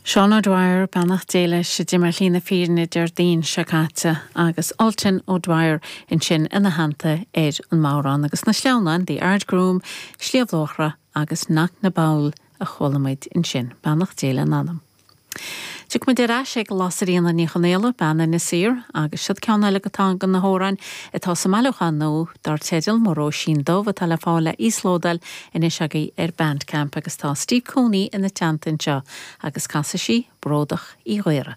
Seán O'Dwyer, beannacht Dé leis, a d'imigh ar shlí na fírinne Déardaoin seo caite, agus Ultan O'Dwyer ansin ina theannta ar an mbodhrán. Agus na sleamhnáin, The Ardgroom, Sliabh Luachra agus Knocknaboul a chuala muid ansin. Beannacht Dé lena n-anam. Tiocfaidh muid ar ais ag Lasairfhíona Ní Chonfhaola, bean Inis Oírr, agus siod ceann eile de na hamhráin atá sa mbailiúchán nua dar teideal Mo Róisín Dubh atá le fáil le íoslódáil anois agaibh ar Bandcamp agus tá Steve Cooney ina teannta anseo agus casfaidh sí Bródach Uí Ghaora.